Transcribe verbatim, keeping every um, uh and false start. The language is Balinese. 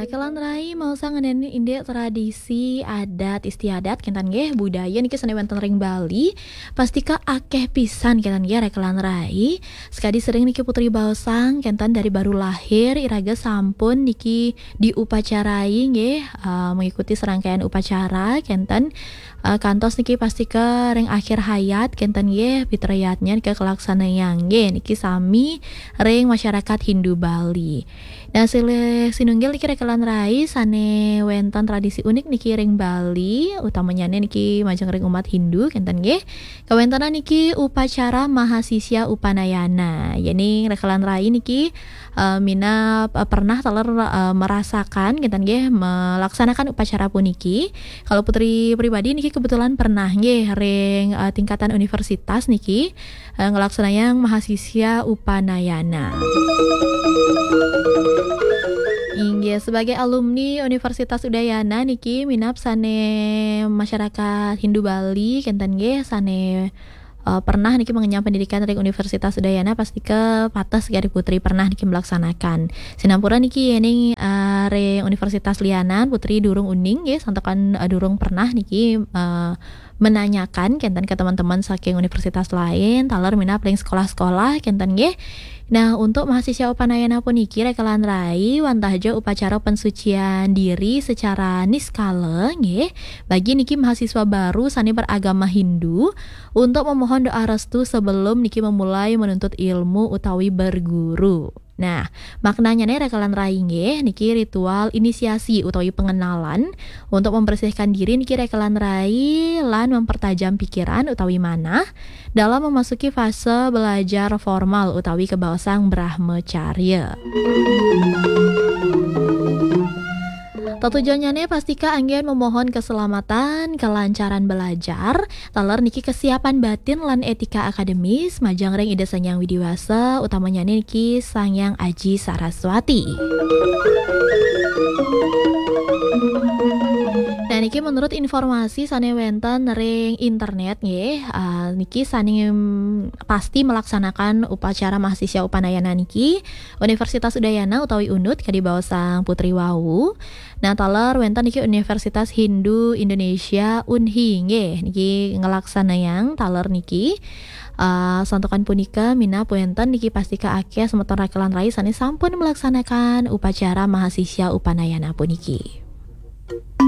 Rekelan rai, mau sanganeni indik tradisi adat istiadat, kénten nggih, budaya niki sané wénten ring Bali, pastika akéh pisan, kénten nggih, rekelan rai. Sakadi sering niki putri baosang, kénten dari baru lahir, iraga sampun niki diupacarai nggih, eh, mengikuti serangkaian upacara, kénten, eh, kantos niki pastika ring akhir hayat, kénten nggih, pitrayatnya nika kalaksanayang nggih, niki sami ring masyarakat Hindu Bali. Nah, silih sinunggil niki rekelan rai sané wénten tradisi unik niki ring Bali, utamanyané niki majeng ring umat Hindu, kénten nggih. Kawéntenan niki upacara Mahasisya Upanayana. Yéning rekelan rai niki, eh, minab, eh, pernah taler, eh, merasakan, kénten nggih, melaksanakan upacara puniki. Kalau putri pribadi niki kebetulan pernah nggih ring, eh, tingkatan universitas niki, eh, ngelaksanayang Mahasisya Upanayana. Inggih, sebagai alumni Universitas Udayana niki minab sané masyarakat Hindu Bali, kénten nggih, sané, eh, pernah niki mengenyam pendidikan ring Universitas Udayana, pastika pateh sakadi putri pernah niki melaksanakan. Sinampura niki yéning, eh, ring universitas lianan, putri durung uning nggih, santukan, eh, durung pernah niki, eh, menanyakan kénten ke teman-teman saking universitas lain, taler minab ring sekolah-sekolah, kénten nggih. Nah, untuk mahasisya upanayana puniki rekelan rai, wantah ja upacara pensucian diri secara niskala, nggih. Bagi niki mahasiswa baru sané beragama Hindu, untuk memohon doa restu sebelum niki memulai menuntut ilmu utawi berguru. Nah, maknanyané rekelan rai nggih, niki ritual inisiasi utawi pengenalan untuk membersihkan diri niki rekelan rai lan mempertajam pikiran utawi manah dalam memasuki fase belajar formal utawi kabaosang brahmacarya. Tetujuannyané pastika anggén memohon keselamatan, kelancaran belajar, taler niki kesiapan batin lan etika akademis, majeng ring Ida Sang Hyang Widi Wasa, utamanyané niki Sang Hyang Aji Saraswati. Nah, niki menurut informasi sané wénten ring internet nggih, eh, niki sané, mm, pasti melaksanakan upacara mahasisya upanayana niki Universitas Udayana utawi UNUD kadi baosang putri wau. Nah, taler wénten niki Universitas Hindu Indonesia, UNHI, nggih, niki ngelaksanayang taler niki. Eh, santukan punika minab wénten niki pastika akéh semeton rekelan rai sané sampun melaksanakan upacara mahasisya upanayana puniki.